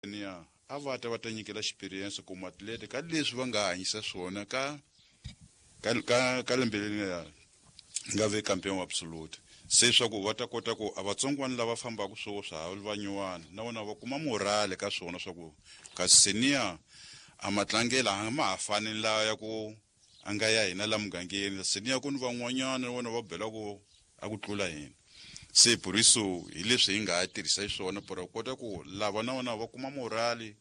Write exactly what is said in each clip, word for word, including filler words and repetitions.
Niya a va ta va ta nyikela experience ku matlete ka leswi va nga hanyisa swona ka ka ka ka lembe leri nga nga ve campeon absolute. Se swa ku va ta kota ku a vatsongwana lava fambaka swo swa ha va nyuwana na vona va kuma morale ka swona swa ku ka senior a matlangela a ma ha fani la ya ku a nga ya hina la mugangeni. Senior ku ni van'wanyana na vona va bela ku a ku tlula hina. Se por isso hi leswi hi nga tirhisa xiswona para kota ku lava na vona va kuma morale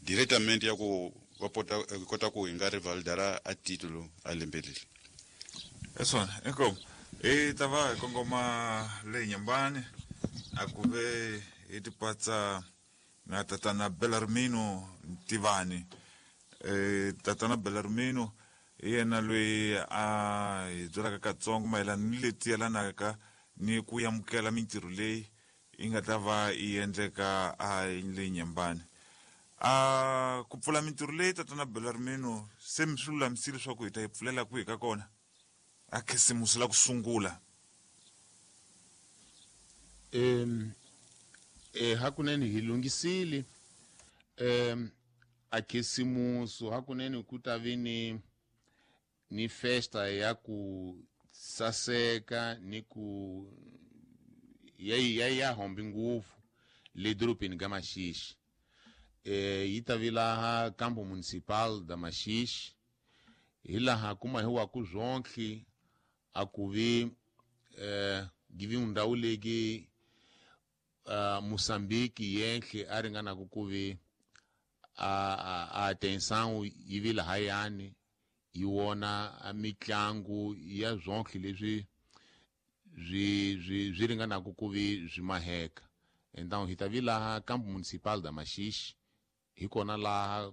directamente ya ku va pota kota ku hi nga rivalidara a titulo a lembe leri. Hi swona inkomu hi ta va hi kongoma le Nyambani a ku ve hi tipatsa na tatana Belarmino Ntivani. Eh tatana Belarmino hi yena loyi a hi byelaka katsongo mayelana ni leti yelanaka ni ku amukela mintirho leyi yi nga ta va yi endleka a le Nyambani. A ku pfula mintirho leyi tatana Belarmino se mi swi lulamisile leswaku hi ta yi pfulela kwihi ka kona a khisimusi la ku sungula? Em eh hakunene hi lunghisile em a khisimusi hakunene ku ta vi ni ni festa ya ku saseka ni ku ya ya ya hombi ngopfu le dorobeni ka Maxixe. Eh yi ta vi laha Campo Municipal da Maxixe, hi laha kuma hi wa ku zwonke a ku vi eh give ndhawu legi uh, Moçambique yenhle a ringana ku ku vi a a atenção yi vi lahayani yi wona a mitlangu ya zwonke leswi swi swi swi ringanaka ku vi swi maheka. Então hi ta vi laha Campo Municipal da Maxixe, hi kona laha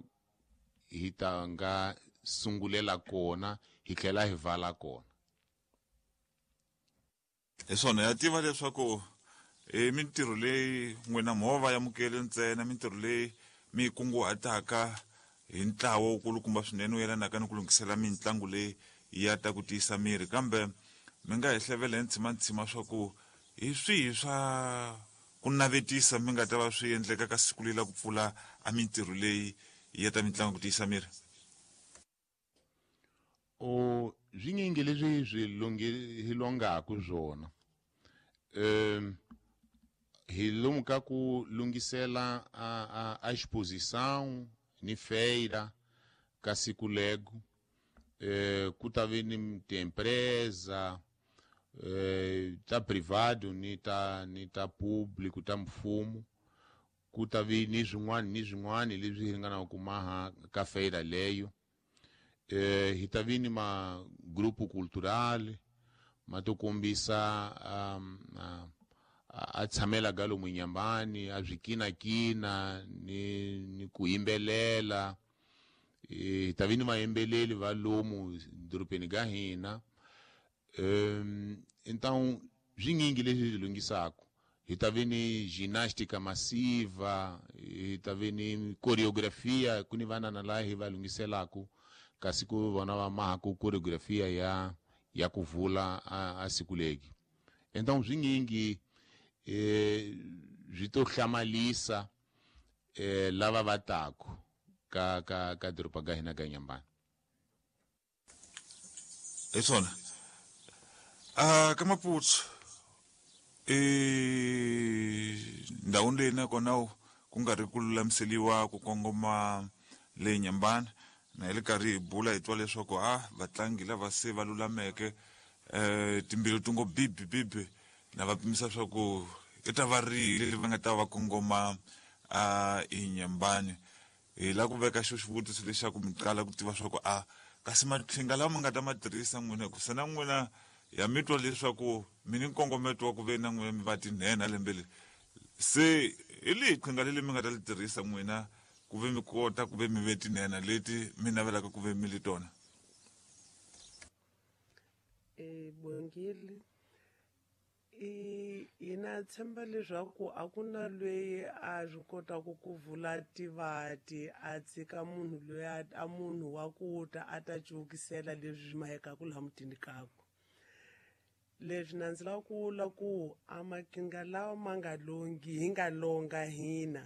hi ta nga sungulela kona hi tlhela hi vala kona. Hi swona ya tiva leswaku i mintirho leyi n'wina movha ya mukele ntsena, mintirho leyi mi yi kunguhataka hi ntlawa wukulukumba swinene wu yelanaka ni ku lunghisela mitlangu leyi ya ta ku tiyisa miri, kambe mi nga hi hlevela hi ntshimantsima swa ku hi swihi swa ku navetisa mi nga ta va swi endleka ka siku leri la ku pfula a mintirho leyi ya ta mitlangu ku tiyisa miri? O swinyingi leswi swi lunghi hi longaku swona. Em hi lomu ka ku lunghisela a a a exposição ni feira ka siku lego. Eh ku ta vi ni tiempresa eh ta privado ni ta ni ta público ta mfumo, ku ta vi ni swin'wana ni swin'wana leswi hi ringanaka ku maha ka feira leyo. Eh hi ta vi ni ma grupo cultural ma to kombisa um, a, a tshamela ga lomu Nyambani, a swikinakina ni ni ku yimbelela. Hi ta vi ni vayimbeleli va lomu dorobeni ga hina. Um então swinyingi leswi hi lunghisaka. Hi ta vi ni ginástica massiva, hi ta vi ni coreografia, ku ni vanana laha hi va lunghiselaku kasi ku vona va mahaku coreografia ya ya ku vula a, a siku legi. Então swinyingi eh swi to hlamalisa eh lava va taku ka ka ka doroba ga hina ga Nyambani. Hi swona. A ka Maputo e ndhawini leyi nakona ku nga ri ku lulamiseliwa ku kongoma le Nyambani, na hi le karhi hi bula hi twa leswaku a vatlangi lava se va lulameke eh timbilu ti ngo bibi bibi, na va pimisa swa ku i ta va rihi leri va nga ta va kongoma a eNyambani. Hi lava ku veka xo xivutiso lexaku mi qala ku tiva swa ku a kasi maqhinga lawa mi nga ta ma tirhisa n'wina, hikusa na n'wina ya mi twa leswaku mi ni nkongometo wa ku ve na n'wina mi va tinhenha lembe leri, se hi lihi qhinga leri mi nga ta li tirhisa n'wina ku ve mi kota ku ve mi ve tinhenha leti mi navelaka ku ve mi li tona? Eh Bongile, i hina tshemba leswaku a ku na loyi a swi kotaka ku vula tivati a tshika munhu loyi a, a munhu wa ku ta a ta cukisela leswi swi mahekaku laha mutini kakwe. Leswi na ndzi lava ku vula ku a maqhinga lawa ma nga longhi hi nga longa hina